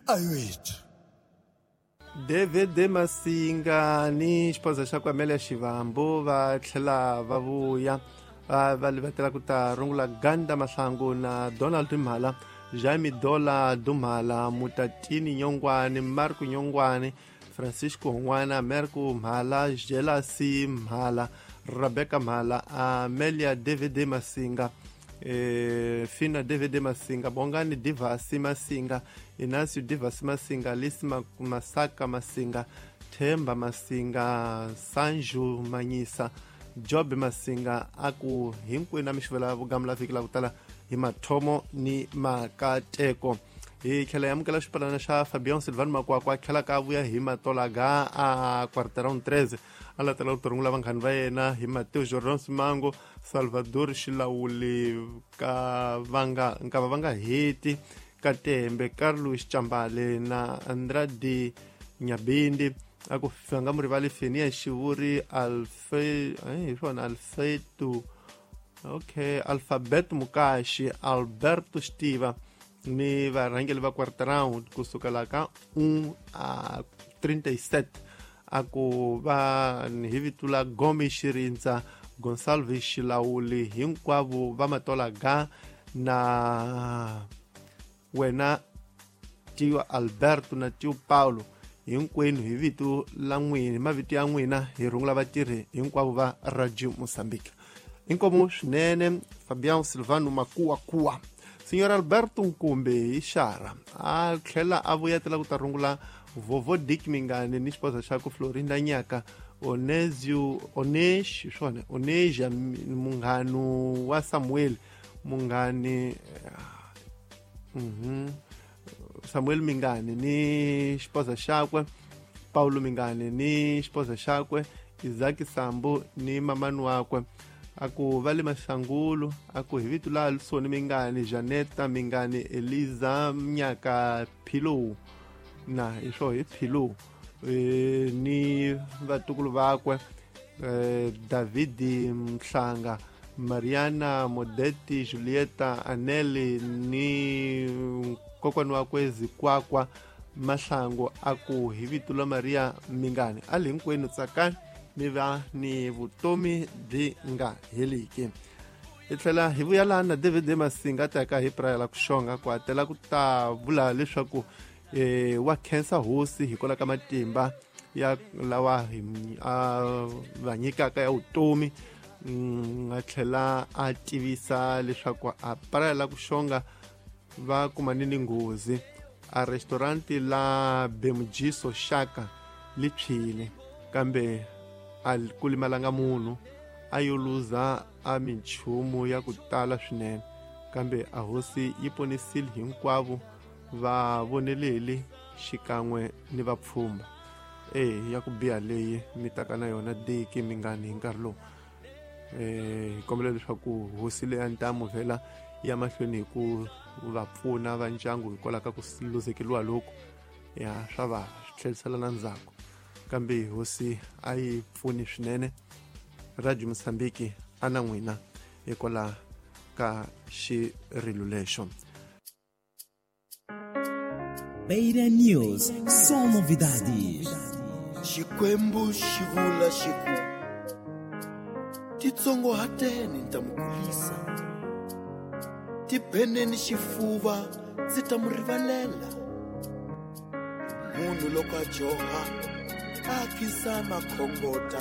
Ayoethu. David Masinga ni xipoza xa ku Amelia Xivambu va tlhela va vuya va livatela ku ta rungula Ganda Mahlangu na Donald Mhala, Jaime Dola Dumhala, Mutatini Nyongwane, Marco Nyongwane, Francisco Hongwana, Merco Mhala, Jelasi Mhala, Rebecca Mhala, Amelia David Masinga, Fina David Masinga, Bongani Divasi Masinga, Inacio Divasi Masinga, Alice Masaka Masinga, Themba Masinga, Sanju Manyisa, Job Masinga, aku hinkwenu a mi xivela vugamula vhiki la ku tala hi mathomo ni makateko. Hi tlhela hi amukela xipalana xa Fabian Silvan Makwakwa, a tlhela ka vuya hi matolaga a quarteron 13, a latela ku tirhungula vanghani va yena hi Mateo Jordan Simango, Salvador Xilawuli ka vanga nkava va nga heti Katembe, Carlos Chambale na Andrade Nyabindi. A ku nga mu rivali Fenia Xivuri, Alfred hi swona Alfredo, okay, Alphabet Mukashi, Alberto Xtiva ni varhangeri va quarter round kusukela ka 1 a 37. A ku va hi vito la Gomi Xirindza, Gonsalves Xilawuli, hinkwavo va matola ga na wena Tio Alberto na Tio Paulo, hinkwenu hi vito la n'wina, mavito ya n'wina hi rungula vatirhi hinkwavo va Radio Mozambique. Inkomu swinene Fabian Silvano Makuwakuwa. Senhor Alberto Nkumbe hi xara a tlhela a vuyetela ku ta rungula Vovo Dick Mingani ni xipoza xa ku Florinda Nyaka, Onesio Onesh swona Oneja, munghanu wa Samuel Mungani, Samuel Mingani ni xipoza xakwe Paulo Mingani ni xipoza xakwe Isaac Sambu ni mamani wakwe. A ku va le Maxangulu, a ku hi vito la Alisoni Mingani, Janeta Mingani, Eliza Nyaka Philo na hi swo hi Philo, ni vatukulu vakwe David Mhlanga, Mariana Modeti, Julieta Aneli ni kokwani wakwe Zikwakwa Mahlangu. A ku hi vito la Maria Mingani. A li hinkwenu tsakani mi va ni vutomi byi nga heliki. Hi tlhela hi vuya laha na David Masinga taka hi prayela ku xonga ku atela ku ta vula leswaku wa khensa hosi hikwalaho ka matimba ya lawa a va nyikaka ya vutomi. A tlhela a tivisa leswaku a prayela ku xonga va kumane ni nghozi a restaurant la Bemujiso Shaka li tshwile, kambe a ku limalanga munhu, a yo luza a minchumu ya ku tala swinene, kambe a hosi yi ponisile hinkwavo va voneleli xikan'we ni vapfhumba. Ya ku biha leyi mi taka na yona Diki Mingani hi nkarhi lowu. Hi kombela leswaku hosi leya ntamu vhela ya mahlweni hi ku va pfuna va ndyangu hikwalaho ka ku luzekeriwa loku ya swa va swi tlherisela na ndzhaku, kambe hosi a yi pfuni swinene. Radio Mozambique a na n'wina hikwalaho ka xirilo lexo. Beira News, só novidades. Xikwembu xi vula xi ku, titsongohateni ni ta mi kulisa, tibeneni xifuva ndzi ta mu rivalela. Munhu loko a dyoha a khinsama khongota,